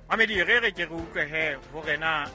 Mamedi, re re ke re utlwe he hore na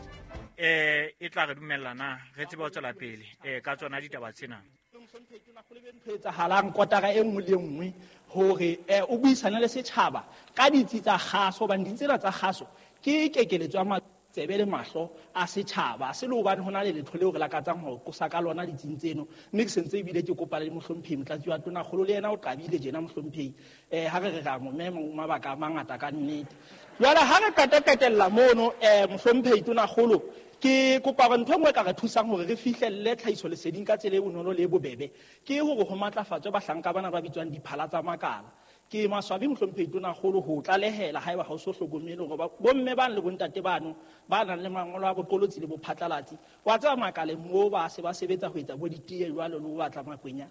e tla re dumella na re tsebe ho tswela pele ka tsona ditaba tsena. Ntho etsahalang kotara e nngwe le nngwe hore o buisane le setjhaba ka ditsi tsa kgaso, hobane ditsi tsena tsa kgaso ke kekeletso ya matsebe le mahlo a setjhaba. Se le hobane ho na le letho leo re lakatsang ho qosa ka lona ditsing tseno, mme ke sentse ebile ke kopa le mohlomphehi motlatsi wa tonakgolo, le yena o qabile jena mohlomphehi. Ha re re ra mo mema mabaka a mangata ka nnete. Jwale ha re qeta qetella mono, mohlomphehi tonakgolo, ke kopa hore ntho e nngwe e ka re thusang hore re fihlelle tlhahiso leseding ka tsela e bonolo le e bobebe ke hore ho matlafatswe bahlanka bana ba bitswang diphala tsa makala. Ke maswabi mohlomphehi tonakgolo ho tlalehela haeba ha o so hlokomele hore bomme bano le bontate bano ba nang le mangolo a boqolotsi le bophatlalatsi, wa tseba makaleng moo ba se ba sebetsa ho etsa bo ditee jwalo le ho batla makwenya,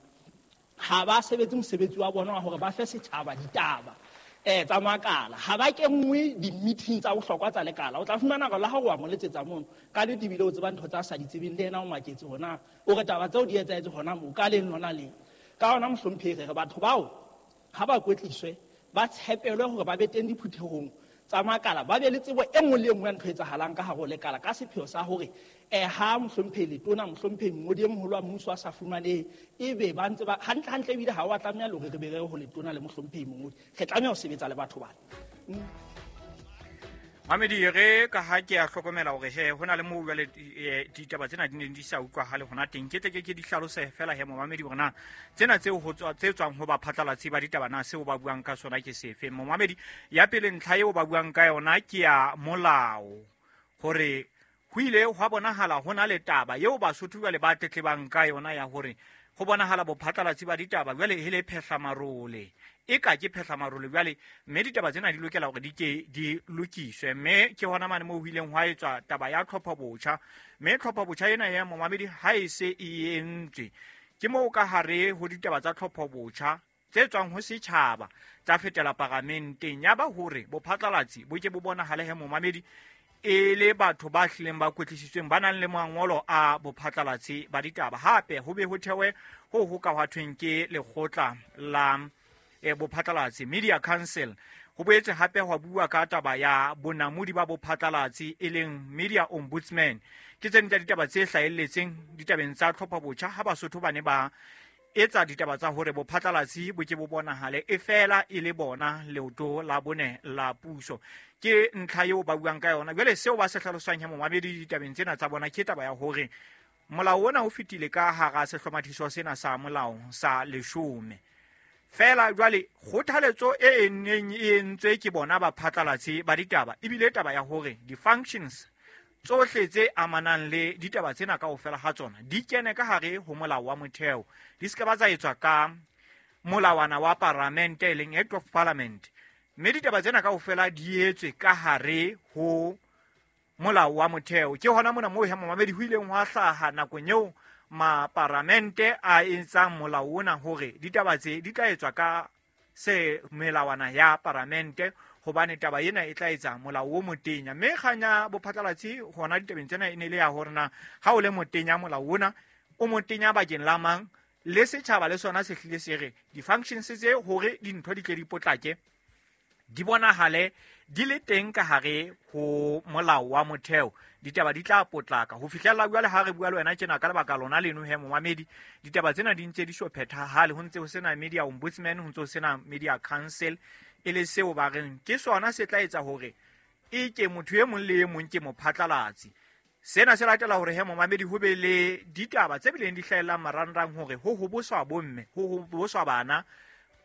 ha ba sebetse mosebetsi wa bona wa hore ba fe setjhaba ditaba tsa makala. Ha ba kenngwe di-meeting tsa bohlokwa tsa lekala. O tla fumana hore le ha o wa mo letsetsa mono ka nnete ebile o tseba ntho tsa sa di tsebeng, le yena o maketse hona o re taba tseo di etsahetse hona moo ka leng lona leng. Ka hona mohlomphehi, re re batho bao ha ba kwetliswe, ba tshepelwe hore ba be teng diphuthehong tsa makala, ba be le tsebo e nngwe le e nngwe ya ntho e etsahalang ka hare ho lekala, ka sepheo sa hore ha mohlomphehi letona, mohlomphehi mongodi e moholo wa mmuso a sa fumanehe, ebe ba ntse ba hantle hantle, ebile ha wa tlameha le hore re be re ho letona le mohlomphehi mongodi, re tlameha ho sebetsa le batho bana. Mamedi, re ka ha ke a hlokomela hore he ho na le moo jwale ditaba tsena di neng di sa utlwahale hona teng, ke tle ke di hlalose fela he momamedi hore na tsena tseo ho tswa, tse tswang ho baphatlalatsi ba ditaba na seo ba buang ka sona ke sefe. Momamedi, ya pele ntlha eo ba buang ka yona ke ya molao, hore ho ile hwa bonahala ho na le taba eo Basotho jwale ba tletlebang ka yona ya hore ho bonahala bophatlalatsi ba ditaba jwale e le phehlamarole, e ka ke phehlamarole jwale, mme ditaba tsena di lokela hore di ke di lokiswe. Mme ke hona mane moo ho ileng hwa etswa taba ya tlhopho botjha, mme tlhopho botjha ena ya momamedi ha e se e entswe, ke moo ka hare ho ditaba tsa tlhopho botjha tse tswang ho setjhaba tsa fetela paramenteng, ya ba hore bophatlalatsi bo ke bo bonahale he momamedi e le batho ba hlileng ba kwetlisitsweng, ba nang le mangolo a bophatlalatsi ba ditaba. Hape ho be ho thewe ho ho ka hwa thweng ke lekgotla la bophatlalatsi, Media Council. Ho boetse hape hwa bua ka taba ya bonamodi ba bophatlalatsi e leng Media Ombudsman. Ke tse ding tsa ditaba tse hlahelletseng ditabeng tsa tlhopho botjha ha Basotho ba ne ba etsa ditaba tsa hore bophatlalatsi bo ke bo bonahale e fela e le bona leoto la bone la puso. Ke ntlha eo ba buang ka yona. Jwale seo ba se hlalosang he momamedi ditabeng tsena tsa bona ke taba ya hore molao ona o fetile ka hara sehlomathiso sena sa molao sa 10. Fela jwale kgothaletso e neng e entswe ke bona baphatlalatsi ba ditaba ebile taba ya hore di-functions tsohle tse amanang le ditaba tsena kaofela ha tsona di kene ka hare ho molao wa motheo, di se ke ba tsa etswa ka molawana wa paramente e leng Act of Parliament, mme ditaba tsena kaofela di etswe ka hare ho molao wa motheo. Ke hona mona moo he momamedi ho ileng hwa hlaha nakong eo maparamente a etsang molao ona hore ditaba tse di tla etswa ka se melawana ya paramente, hobane taba ena e tla etsa molao o motenya. Mme kgang ya bophatlalatsi hona ditabeng tsena e ne le ya hore na ha o le motenya molao ona o motenya bakeng la mang, le setjhaba le sona se hlile se re di-functions tse hore dintho di tle di potlake di bonahale di le teng ka hare ho molao wa motheo, ditaba di tla potlaka ho fihlella jwale. Ha re bua le wena tjena ka lebaka lona leno he momamedi, ditaba tsena di ntse di so phethahale, ho ntse ho sena media ombudsman, ho ntse ho sena media council, e le seo ba reng ke sona se tla etsa hore e ke motho e mong le e mong ke mophatlalatsi. Sena se latela hore he momamedi ho be le ditaba tse bileng di hlahellang marangrang hore ho hoboswa bomme, ho hoboswa bana,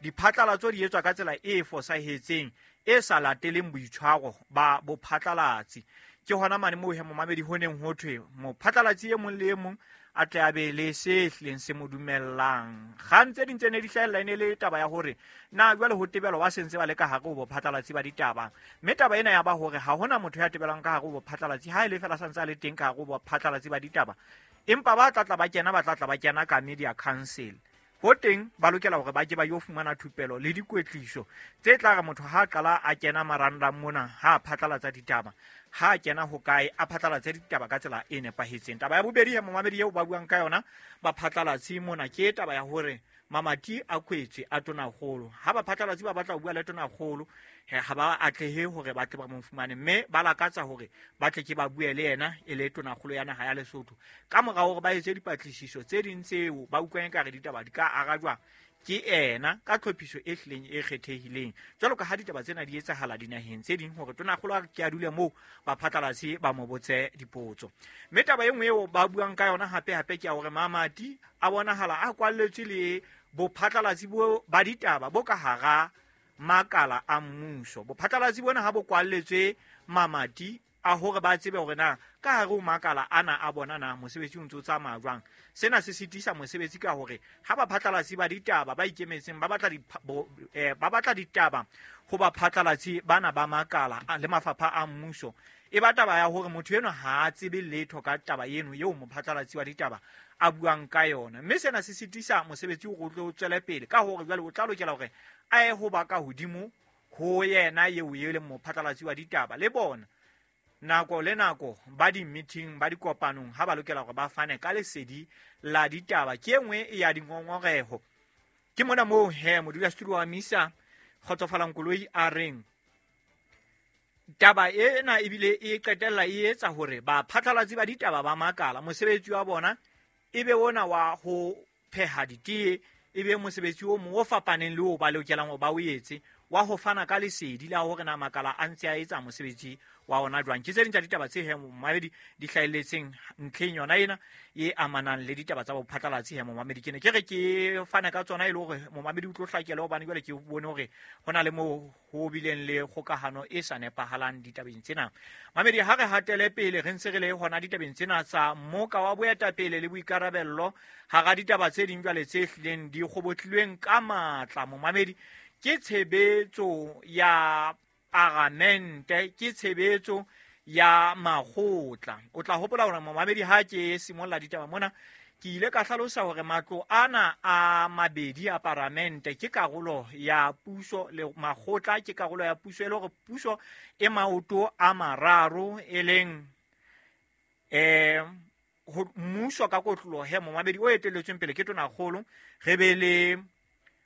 diphatlalatso di etswa ka tsela e fosahetseng e sa lateleng boitshwaro ba bophatlalatsi. Ke hona mane moo he momamedi ho neng ho thwe mophatlalatsi e mong le e mong a tle a be le se hlileng se mo dumellang. Kgang tse ding tse ne di hlahella e ne le taba ya hore na jwale ho tebelwa ba sentse ba le ka hare ho bophatlalatsi ba ditaba, mme taba ena ya ba hore ha hona motho ya tebelwang ka hare ho bophatlalatsi ha e le fela santse a le teng ka hare ho bophatlalatsi ba ditaba, empa ba tla tla ba kena, ba tla tla ba kena ka media council. Ho teng ba lokela hore ba ke ba yo fumana thupelo le dikwetliso tse tla re motho ha a qala a kena marangrang mona, ha a phatlalatsa ditaba, ha a kena hokae, a phatlalatse ditaba ka tsela e nepahetseng. Taba ya bobedi ya momamedi eo ba buang ka yona ba phatlalatse mona ke taba ya hore Mamati a kwetswe a tonakgolo. Ha baphatlalatsi ba batla ho bua le tonakgolo, ha ba atlehe hore ba tle ba mo fumane, mme ba lakatsa hore ba tle ke ba bue le yena e le tonakgolo ya naha ya Lesotho. Ka mora hore ba etse dipatlisiso tse ding tseo ba utlwang ekare ditaba di ka arajwa ke ena ka tlhophiso e hlileng e kgethehileng, jwalo ka ha ditaba tsena di etsahala dinaheng tse ding hore tonakgolo a ke a dule moo baphatlalatsi ba mo botse dipotso. Mme taba e nngwe eo ba buang ka yona hape-hape ke ya hore mamati a bonahala a kwalletswe le bophatlalatsi bo ba ditaba bo ka hara makala a mmuso. Bophatlalatsi bona ha bo kwalletswe mamati a hore ba tsebe hore na ka hare ho makala ana a bona na mosebetsi o ntse o tsamaya jwang. Sena se sitisa mosebetsi ka hore ha baphatlalatsi ba ditaba ba ikemetseng ba batla ba batla ditaba ho baphatlalatsi bana ba makala le mafapha a mmuso, e ba taba ya hore motho enwa ha a tsebe letho ka taba eno eo mophatlalatsi wa ditaba a buang ka yona. Mme sena se sitisa mosebetsi hore o tlo tswele pele ka hore jwale o tla lokela hore a ye ho ba ka hodimo ho yena eo e leng mophatlalatsi wa ditaba. Le bona nako le nako ba di-meeting, ba dikopanong, ha ba lokela hore ba fane ka lesedi la ditaba. Ke e nngwe ya dingongoreho. Ke mona moo he modulasetulo wa MISA Kgotsofalang Koloi a reng taba ena ebile e qetella e etsa hore baphatlalatsi ba ditaba ba makala mosebetsi wa bona e be ona wa ho pheha ditee, e be mosebetsi o mong o fapaneng le o ba lokelang hore ba o etse wa ho fana ka lesedi la hore na makala a ntse a etsa mosebetsi wa ona jwang. Ke tse ding tsa ditaba tse he momamedi di hlahelletseng ntlheng yona ena e amanang le ditaba tsa bophatlalatsi he momamedi. Ke ne ke re ke fane ka tsona e le hore momamedi o tlo hlakele, hobane jwale ke bone hore ho na le moo ho bileng le kgokahano e sa nepahalang ditabeng tsena. Mamedi, ha re hatele pele re ntse re le hona ditabeng tsena tsa mmoka wa boetapele le boikarabello hara ditaba tse ding jwale tse hlileng di kgobotlilweng ka matla momamedi, ke tshebetso ya paramente, ke tshebetso ya makgotla. O tla hopola hore momamedi ha ke simolla ditaba mona ke ile ka hlalosa hore matlo ana a mabedi a paramente ke karolo ya puso le makgotla ke karolo ya puso, e le hore puso e maoto a mararo e leng mmuso ka kotloloho he momamedi o etelletsweng pele ke tonakgolo, re be le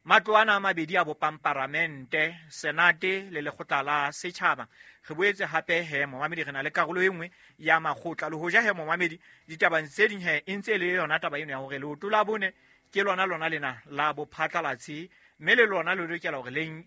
matlo ana a mabedi a bopang paramente, senate le lekgotla la setjhaba. Re boetse hape he momamedi re na le karolo e nngwe ya makgotla. Le hoja he momamedi ditabeng tse ding he e ntse e le yona taba eno ya hore leoto la bone ke lona lona lena la bophatlalatsi, mme le lona le lokela hore le